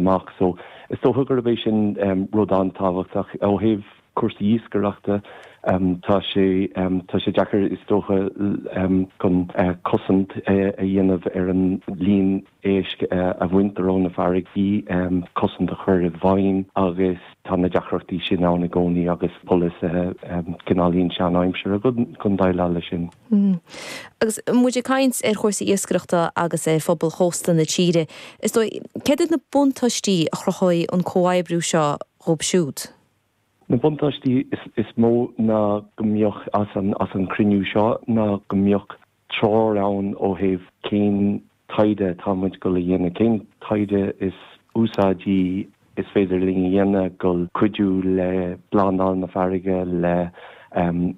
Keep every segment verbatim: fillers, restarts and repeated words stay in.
amach. So is dócha gurb é sin rud an-tábhachtach. Ó thaobh cúrsaí iascaireachta, tá sé tá sé deacair is dócha chun cosaint a dhéanamh ar an líon éisc a bhaintear ó na farraigí, cosaint a chur i bhfeidhm agus tá na deacrachtaí sin ann i gcónaí agus polasaithe cineáilín sean-aimseartha chun déileáil leis sin. Agus muid ag caint ar chúrsaí iascaireachta agus ar phobal chósta na tíre, is dóigh, céard iad na buntáistí a chruthóidh an comhoibriú seo dhóibh siúd? Na buntáistí is mó ná go mbeadh as an as an cruinniú seo ná go mbeadh treoir ann ó thaobh cén taighde atá muid dul a dhéanamh, cén taighde is úsáidí is féidir linn a dhéanamh dul cuidiú le plandáil na farraige, le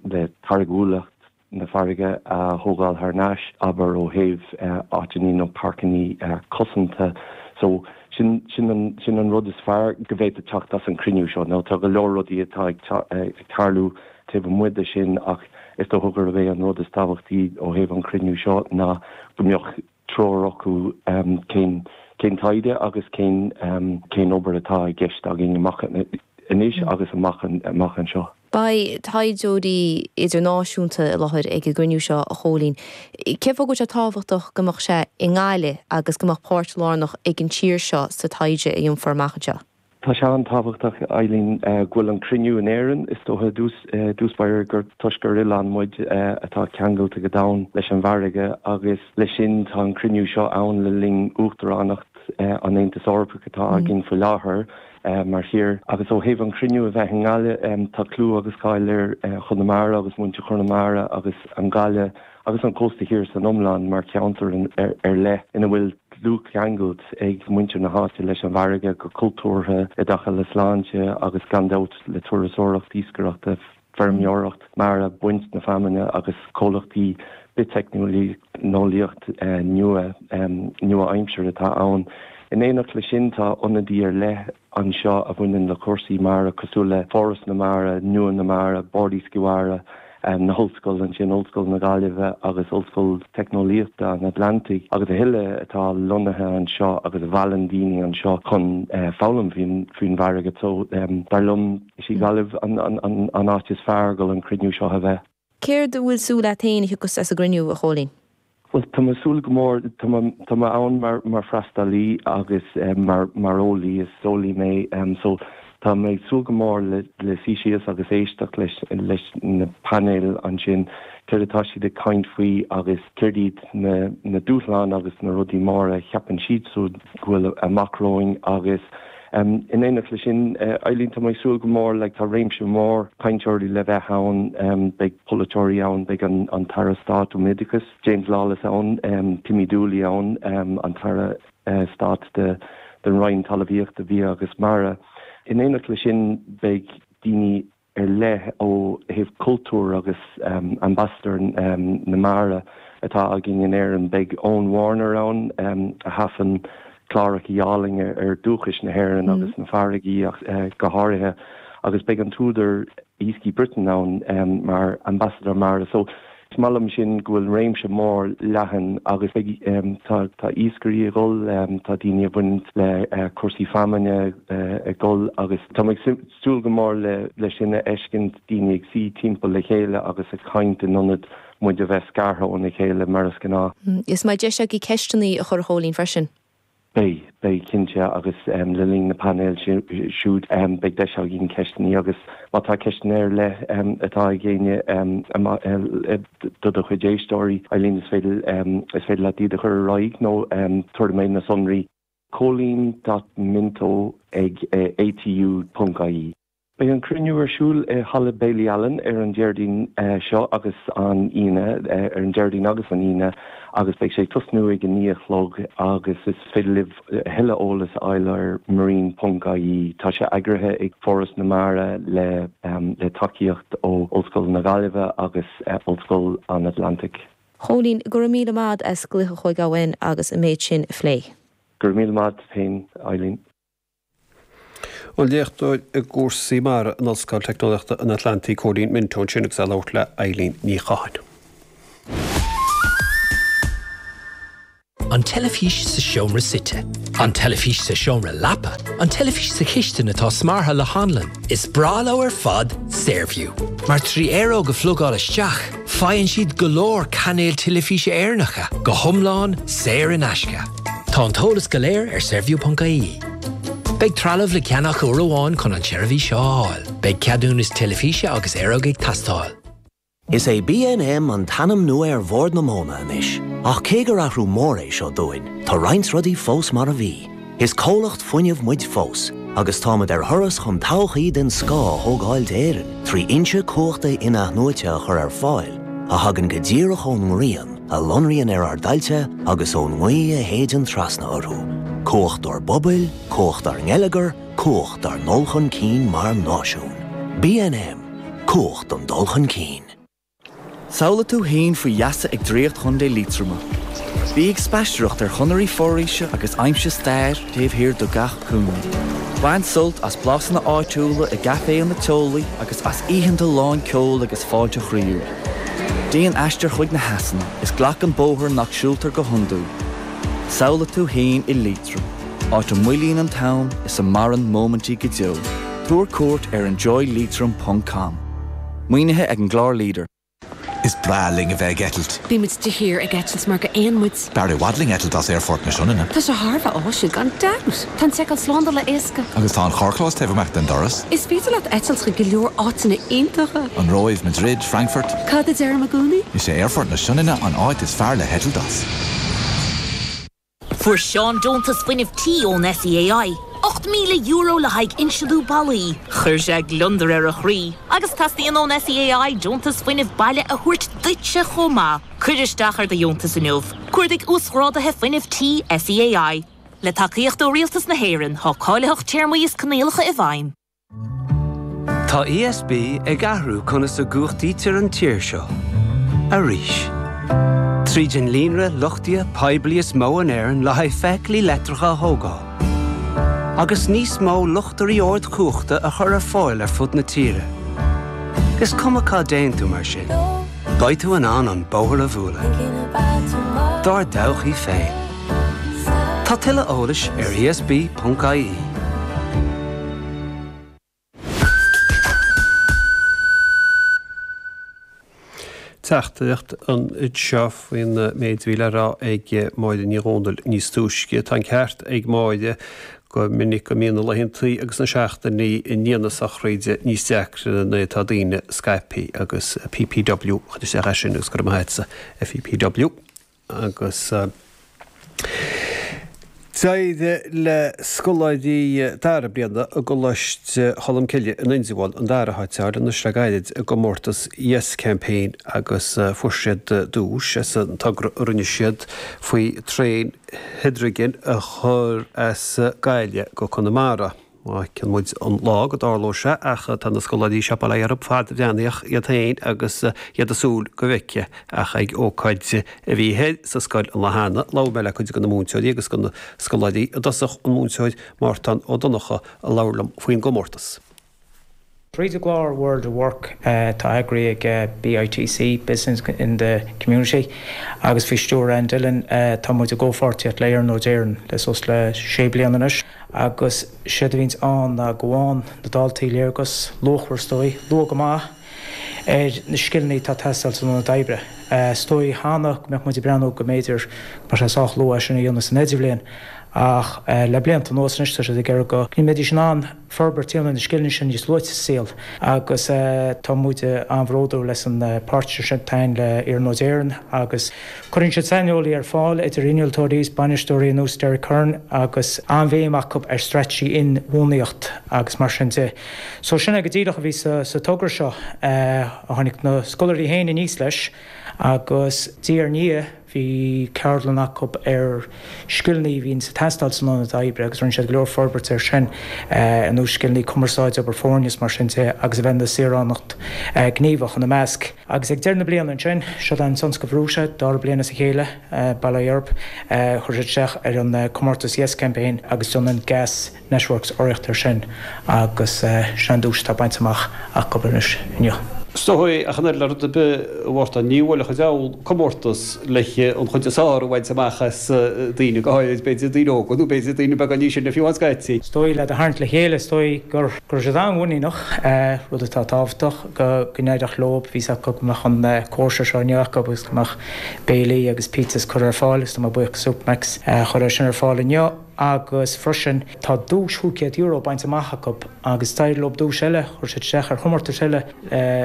le táirgiúlacht na farraige a thógáil thar n-ais, abair ó thaobh áiteanna nó páirceanna cosanta. So sin sin an sin an rud is fearr go bhféadfadh teacht as an cruinniú seo. Now tá go leor rudaí atá ag ag tarlú taobh amuigh de sin ach is dócha gurb é an rud is tábhachtaí ó thaobh an cruinniú seo ná go mbeadh treoir acu cén cén taighde agus cén cén obair atá i gceist againn amach anois agus amach amach anseo. Beidh taighdeoirí idirnáisiúnta i láthair ag an gcruinniú seo, a Chóilín. Cén fáth go bhfuil sé tábhachtach go mbeadh sé i nGaillimh agus go mbeadh páirt lárnach ag an tír seo sa taighde a dhéanfar amach anseo? Tá sé an-tábhachtach, Eileen, go bhfuil an cruinniú in Éirinn, is dócha, i dtús dtús báire gur toisc gur oileán muid atá ceangailte go domhain leis an bhfarraige agus leis sin tá an cruinniú seo ann le linn uachtaránacht an Aontais Eorpaigh atá againn faoi láthair mar thír. Agus ó thaobh an cruinniú a bheith i nGaillimh, tá clú agus cáil ar Chonamara agus muintir Chonamara agus an Ghaillimh agus an cósta thiar san iomlán mar cheantar ar leith ina bhfuil dlúthcheangailt ag muintir na háite leis an bhfarraige go cultúrtha, i dtaca le sláinte agus gan dabht le turasóireacht, iascaireacht, feirmeoireacht mara, baint na feamainne agus comhlachtaí biteicneolaíocht nua nua-aimseartha atá ann. In éineacht leis sin tá ionadaí ar leith anseo a bhaineann le cúrsaí mara cosúil le Foras na Mara, Nua na Mara, Bord Iascaigh Mhara, na hollscoil ansin, Ollscoil na Gaillimhe agus Ollscoil Teicneolaíochta an Atlantaigh agus a thuilleadh atá lonnaithe anseo agus a mheallann daoine anseo chun foghlaim faoin bhfarraige. So, dar liom, is í Gaillimh an áit is fearr dhul an cruinniú seo a bheith. Céard a bhfuil súil agat féin a thiocfas as an gcruinniú, a Chóilín? Bhuel, tá mé ag súil go mór, tá mé, tá mé ann mar, mar freastalaí agus mar, mar eolaí, is eolaí mé, so tá mé ag súil go mór le, le suí síos agus éisteacht leis, leis na painéil ansin, céard atá siad ag caint faoi agus céard iad na, na dúshláin agus na rudaí móra a cheapann siad siúd go bhfuil amach romhainn agus in éineacht leis sin, Eileen, tá mé ag súil go mór, like tá réimse mór cainteoirí le bheith ann, beidh polaiteoirí ann, beidh an, an tAire Stáit um Oideachas, James Lawless ann, Timmy Dooley ann, an tAire Stáit den Roinn Talmhaíochta, Bia agus Mara. In éineacht leis sin beidh daoine ar leith ó thaobh cultúir agus Ambasadóir na Mara atá againn in Éirinn. Beidh Eoin Warner ann a thaifeann cláracha álainn ar dúchais na hÉireann agus na farraigí go háirithe agus beidh an t-údar Easkey Britton ann mar Ambasadóir Mara. So is maith liom sin go bhfuil réimse mór leathan agus beidh tá tá iascairí ag dul, tá daoine a bhaineann le cúrsaí feamainne ag dul agus tá mé ag súil go mór le le sin a fheiscint, daoine ag suí timpeall le chéile agus ag caint in ionad muid a bheith scartha óna chéile mar is gnáth. Is mbeidh deis agaibh ceisteanna a chur a Chóilín freisin. Beidh, beidh, cinnte, agus le linn na painéil siúd beidh deis againn ceisteanna agus má tá ceisteanna ar leith atá ag éinne do do chuid éisteoirí, Eileen, is féidir, is féidir leat iad a chur ar aghaidh nó tabharfaidh mé na sonraí. Cóilín dot Minto ag ATU ponc ie. Beidh an cruinniú ar siúl i Halla Bailey Allen ar an Déardaoin seo agus an Aoine, ar an Déardaoin agus an Aoine, agus beidh sé ag tosnú ag a naoi a chlog agus is féidir libh a thuilleadh eolas a fháil ar marine ponc ie. Tá sé eagraithe ag Foras na Mara le le tacaíocht ó Ollscoil na Gaillimhe agus Ollscoil an Atlantaigh. Chóilín, go raibh míle maith as glaoch a thógáil uainn agus an méid sin a phlé. Go raibh míle maith féin, Eileen. An léachtóir i gcúrsaí mara in Ollscoil Teicneolaíochta an Atlantaigh, Cóilín Minto ansin agus é ag labhairt le Eileen Ní Chatháin. An teilifís sa seomra suite. An teilifís sa seomra leapa, an teilifís sa chistin atá smeartha le hanlann, is breá leo ar fad Saorview. Mar trí aeróg a phlugáil isteach, faigheann siad go leor cainéil teilifíse Éireannacha go hiomlán saor in aisce. Tá an t-eolas go léir ar saorview.ie. Beidh trealamh le ceannach uair amháin chun an tseirbhís seo a fháil, Beidh ceadúnas teilifíse agus aeróg ag teastáil. Is é BNM an t-ainm nua ar Bhord na Móna anois, ach cé gur athrú mór é seo dúinn, tá roinnt rudaí fós mar a bhí. Is comhlacht fuinnimh muid fós, agus táimid ar thuras chun todhchaí den scoth a thógáil d'Éirinn, trí fhoinse cumhachta in-athnuaite a chur ar fáil, a thagann go díreach ón ngrian, a lonraíonn ar ár dtailte agus ón ngaoth a shéideann trasna orthu. Cumhacht dár bpobail, cumhacht dár ngeilleagar, cumhacht dár ndul chun cinn mar náisiún. BNM, cumhacht don dul chun cinn. Samhlaigh tú féin faoi gheasa ag Draíocht Chontae Liatroma. Bí ag spaisteoireacht ar chonairí foraoise agus aimsigh stair taobh thiar de gach cúinne. Bain sult as blasanna áitiúla i gcaiféanna teolaí agus as oícheanta lán ceoil agus fáilte chroíúil. Déan aistear chuig na heasanna is glac an bóthar nach siúltar go hiondúil. Samhlaigh tú féin i Liatroim, áit a moillíonn an t-am is a maireann móimintí go deo. Tabhair cuairt ar enjoyleitrim ponc com. Maoinithe ag an gclár Leader. Is breá linn a bheith ag eitilt. Bímid de shíor ag eitilt mar gur éan muid. B'fhearr i bhfad linn eitilt as Aerfort na Sionainne. Tá sé thar a bheith áisiúil gan dabht. Tá an tseiceáil slándála éasca. Agus tá an carrchlós taobh amach den doras. Is féidir leat eitilt chuig go leor áiteanna iontacha. An Róimh, Madrid, Frankfurt. Cad a deirim i gcónaí? Is é Aerfort na Sionainne an áit is fearr le heitilt as. Fuair Seán deontas fuinnimh tí ón SEAI. Ocht míle euro le haghaidh insealú ballaí. Chuir sé gliondar ar a chroí, agus teastaíonn ón SEAI deontas fuinnimh baile a thabhairt duitse chomh maith. Cuir isteach ar do dheontas inniu. Cuardaigh uasghráduithe fuinnimh tí SEAI. Le tacaíocht ó Rialtas na hÉireann, tá cáilitheacht téarmaí is coinníollacha i bhfeidhm. Tá ESB ag athrú conas a gcumhachtaítear an tír seo. Arís. Tríd an líonra luchtaithe poiblí is mó in Éirinn le haghaidh feithiclí leictreacha a thógáil. Agus níos mó luchtairí ardchumhachta a chur ar fáil ar fud na tíre. Is cuma cá dtéann tú mar sin. Beidh tú in ann an bóthar a bhualadh. Dár dtodhchaí féin. Tá tuilleadh eolais ar esb.ie. Teachtaireacht anseo faoin méid a bhí le rá ag Máire Ní Dhomhnaill níos túisce. Tá an ceart ag Máire go minic go mbíonn na laethanta agus na seachtainí i ndiaidh na sochraide níos deacra nuair atá daoine scaipthe agus PPW chuir isteach é sin agus go raibh maith agatsa FEPW agus D'éirigh le scoláirí dara bliana i gColáiste Cholmcille in Indreabhán an dara háit a fháil anois le gairid i gcomórtas Yes Campaign agus fuair siad duais as an togra a rinne siad faoi traein hidrigine a chur as Gaillimh go Conamara. Má fheiceann muid an lá go dtarlóidh sé ach tá na scoláirí seo bail ó Dhia orthu fadbhreathnaíoch iad féin agus iad ag súil go bhfeicfidh ach ag ócáid a bhí thoir sa scoil an lá cheana labhair mé le cuid de na múinteoirí agus de na scoláirí i dtosach an múinteoir Mártan Ó Donnchadha a labhair liom faoin gcomórtas. Tríd an gclár World of Work atá eagraithe ag BITC, Business in the Community, agus faoi stiúir Anne Dillon, tá muid i gcomhpháirtíocht le Iarnród Éireann le suas le sé bliana anois agus séard a bhíonns ann ná go bhfaigheann na daltaí léargas luachmhar is dóigh, luath go maith, ar na scileanna atá ag teastáil san ionad oibre. Is dóigh cheana go mbeadh muid ag breathnú go mb'fhéidir go mbeadh sé sách luath é sin a dhéanamh san idirbhliain ach le blianta anuas anois tá siad ag iarraidh go mbeidís in ann forbairt a dhéanamh ar na scileanna sin níos luaite sa saol agus tá muid an-bhródúil as an partnership atá againn le Iarnród Éireann agus cuireann siad saineolaí ar fáil idir innealtóirí is bainisteoirí ar nós Derek Curran agus an-bhéim acu ar straitéisí inbhuanaitheacht agus mar sin de. So sin é go díreach a bhí sa togra seo a tháinig na scoláirí féin aníos leis agus diaidh ar ndiaidh bhí ceardlann acu ar scileanna a bhíonn ag teastáil san ionad oibre agus rinne siad go leor forbairt air sin, ar nós scileanna cumarsáide, obair foirne is mar sin de agus a bheith ina saoránach gníomhach ina measc. Agus ag deireadh na bliana ansin, siod an tionscnamh a bhuaigh siad, dara bliain as a chéile, bail ó Dhia orthu, chuir siad isteach ar an comórtas Yes Campaign agus déanann Gas Networks urraíocht air sin agus sin an duais atá bainte amach acu anois inniu. Is dóigh, ach an oiread le rud ar bith, a Mhártain, ní bhuailfeadh an diabhal comórtas le an chuid is fearr a bhaint amach as daoine, go háirid b'fhéidir daoine óga nó b'fhéidir daoine beagán níos sine fiú amháin scaití. Is dóigh le do tharraingt le chéile, is dóigh go raibh siad an-mhuiníneach, rud atá tábhachtach, go n-éireodh leo, bhí 's acu go mbeadh an cóisir seo inniu acu agus go mbeadh béilí agus pizzas curtha ar fáil agus tá mé buíoch do Supermac's a chuir é sin ar fáil inniu. Agus freisin tá duais chúig chéad euro bainte amach acu agus d'éirigh leo duais eile, chuir siad isteach ar chomórtas eile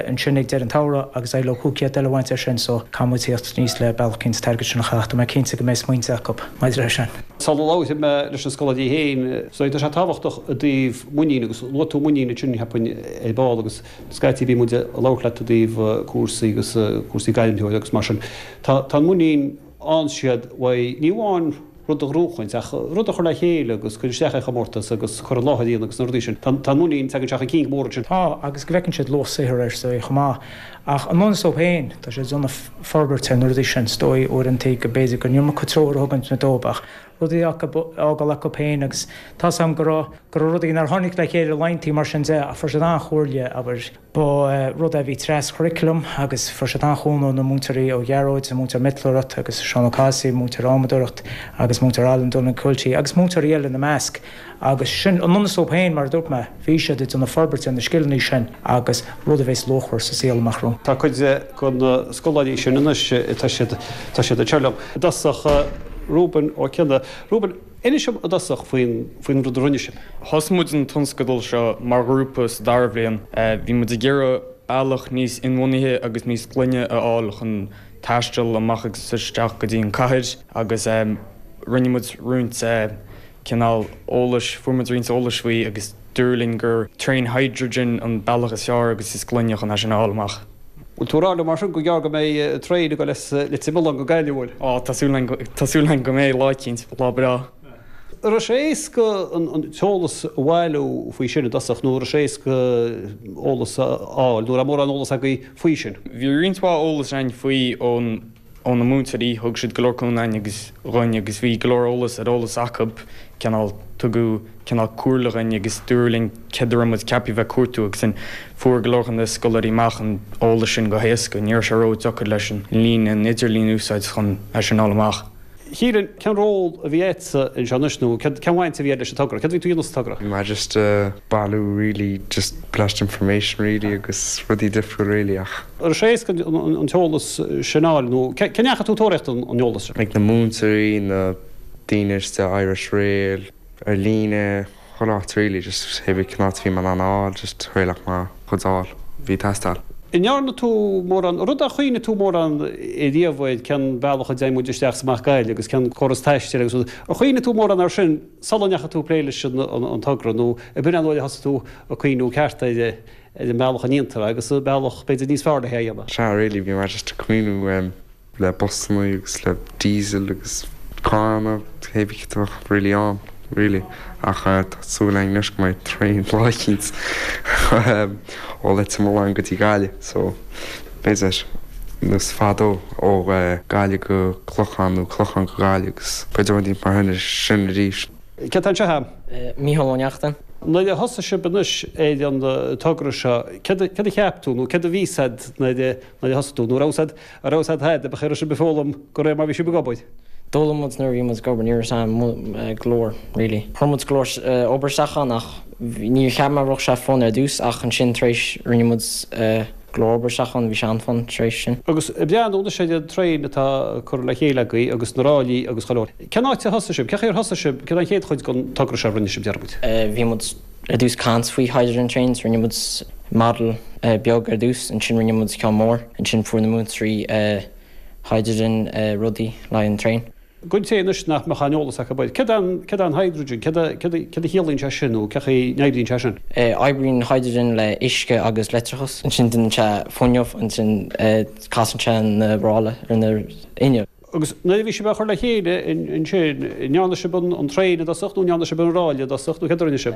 ansin ag deireadh an tsamhraidh agus d'éirigh leo cúig chéad eile a bhaint air sin so caithfidh muid tíocht aníos le bealach éicint an t-airgead sin a chaitheamh. Tá mé cinnte go mbeidh smaointe acu maidir leis sin. Sula labhróidh mé leis na scoláirí féin, so tá sé tábhachtach i dtaobh muinín agus luaigh tú muinín ansin cheapfainn ar ball agus scaití bíonn muid ag labhairt leat i dtaobh cúrsaí agus cúrsaí gairmthreoir agus mar sin. Tá an muinín ann siad uaidh ní amháin rud a ghnóchaint ach rud a chur le chéile agus cur isteach ar chomórtas agus cur i láthair a dhéanamh agus na rudaí sin. Tá an muinín, tagann sé chun cinn go mór ansin. Tá, agus go bhfeiceann siad luach saothair air is dóigh chomh maith. Ach anonn is dóibh féin, tá siad ag déanamh forbairt ar na rudaí sin is dóigh uaireantaí go b'fhéidir gur an iomarca treoir a thugann muid dóibh ach rudaí a fhágáil acu féin agus tá's agam go raibh go raibh rudaí nár tháinig le chéile laethanta mar sin de ach fuair siad an-chomhairle, abair. Ba rud é a bhí tras-churaclam agus fuair siad an-chúnamh ó na múinteoirí ó Ghearóid, an múinteoir miotalóireacht agus Seán Ó Cathasaigh, múinteoir adhmadóireacht agus múinteoir Alan Donald Quilty agus múinteoirí eile ina measc. Agus sin, anonn is dóibh féin, mar a dúirt mé, bhí siad ag déanamh forbairt ar na scileanna sin agus rud a bheas luachmhar sa saol amach romhainn. Tá cuid de na scoláirí sin anois, tá siad, tá siad anseo liom. I dtosach, Reuben Ó Cionnaith. Reuben, inis dom i dtosach faoin, faoin rud a rinne sibh. Thosaigh muid an tionscadal seo mar ghrúpa sa dara bhliain. Bhí muid ag iarraidh bealach níos inbhuanaithe agus níos glaine a fháil chun taisteal amach agus isteach go dtí an cathair agus rinne muid roinnt cineál eolais, fuair muid roinnt eolais faoi agus dúradh linn gur traein hydrogen an bealach is fearr agus is glaine chun é sin a fháil amach. Bhfuil tú ag rá liom mar sin gur gearr go mbeidh traein ag dul as Leitir Mealláin go Gaillimh, bhfuil? Á, tá súil againn, tá súil againn go mbeidh lá eicínt, lá breá. An raibh sé éasca an t-eolas a bhailiú faoi sin i dtosach nó an raibh sé éasca eolas a fháil nó an raibh mórán eolas agaibh faoi sin? Bhí roinnt mhaith eolas againn faoi ón ó na múinteoirí, thug siad go leor cúnamh againn agus dhúinn agus bhí go leor eolas ar eolas acu, cineál, tugadh cineál comhairle dhúinn agus dúradh linn céard a raibh muid ceaptha bheith ag cuartú agus ansin fuair go leor de na scoláirí amach an eolas sin go héasca, ní raibh sé ró-deacair leis an líne, an idirlíon a úsáid chun é sin a fháil amach. Ciarán, cén ról a bhí agatsa anseo anois nó cén bhaint a bhí agat leis an togra? Céard a bhí tú a dhéanamh sa togra? Bhí mé just ag bailiú really just collect information really agus rudaí difriúil really ach. An raibh sé éasca an t-eolas sin a fháil nó cá ndeachaigh tú ag tóraíocht an eolais sin? Ag na múinteoirí, na daoine istigh Irish Rail, ar líne, chuile áit really, just cibé cén áit a bhí mé in ann a fháil, just thriail mé chuid a fháil, bhí ag teastáil. An ndearna tú mórán, rud ar chuimhnigh tú mórán ariamh air, cén bealach a dtéann muid isteach is amach Gaillimh agus cén córas taistil agus rud, ar chuimhnigh tú mórán air sin sula ndeachaigh tú ag plé leis an togra nó ab in an uair a thosaigh tú ag cuimhniú ceart ar an mbealach a ndéantar é agus an bealach b'fhéidir níos fearr le é a dhéanamh? Sea, really, bhí mé just ag cuimhniú le busanna agus le diesel agus carranna, cibé cad a bheadh really ann, really. Ach tá súil againn anois go mbeidh traein lá eicínt ó Leitir Mealláin go dtí Gaillimh, so b'fhéidir nós fadó ó Gaillimh go Clochán nó Clochán go Gaillimh agus b'fhéidir rudaí mar sin arís. Cé atá anseo agam? Mícheál Ó Neachtain. Nuair a thosaigh sibh anois ar an togra seo, céard a cheap tú nó céard a bhí 'fhios a'd nuair a thosaigh tú? Nó raibh 'fhios a'd, an raibh 'fhios a'd tada, ba raibh sibh ag foghlaim de réir mar a bhí sibh ag obair? D'fhoghlaim muid nuair a bhí muid ag obair, ní raibh 'fhios a'm go leor, really. Chuir muid go leor obair isteach ann ach níor cheap mé go raibh sé fun ar dtús ach ansin tar éis rinne muid go leor obair isteach ann, bhí sé an-fun tar éis sin. Agus ag breathnú anois ar an traein atá curtha le chéile agaibh agus na ráillí agus chuile shórt, cén áit a thosaigh sibh? Cén chaoi ar thosaigh sibh? Céard an chéad chuid den togra seo a rinne sibh, déarfaidh muid? Bhí muid ar dtús caint faoi hydrogen trains, rinne muid model beag ar dtús, ansin rinne muid ceann mór, ansin fuair na múinteoirí hydrogen rudaí le haghaidh an traein. Don té anois nach mbeadh aon eolas acu air, céard é an, céard é an hydrogen, céard a, céard a, céard a chiallaíonn sé sin nó cén chaoi a n-oibríonn sé sin? Oibríonn hydrogen le uisce agus leictreachas, ansin déanann sé fuinneamh, ansin casann sé na ráille ar na innill. Agus nuair a bhí sibh á chur le chéile ansin, an ndearna sibh an traein i dtosach nó an ndearna sibh an ráille i dtosach nó céard a rinne sibh?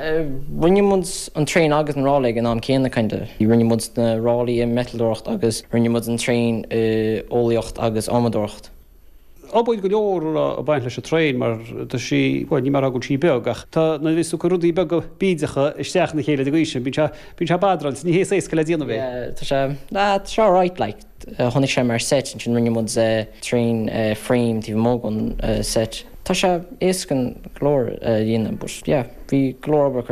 Rinne muid an traein agus an ráille ag an am céanna kinda. Rinne muid na ráillí i miotalóireacht agus rinne muid an traein i eolaíocht agus adhmadóireacht. obair go leor ag baint leis an traein mar tá sí well ní mar go sí beag ach tá na bhí tú rudaí beaga bídeacha isteach na chéile de gcuis sin bíonn sé bíonn sé badráil ní hé éasca le déanamh é. Tá sé tá sé alright like tháinig sé mar set sin rinne muid train frame taobh amuigh den set. Tá sé éasca go leor dhéanamh, but yeah, bhí go leor obair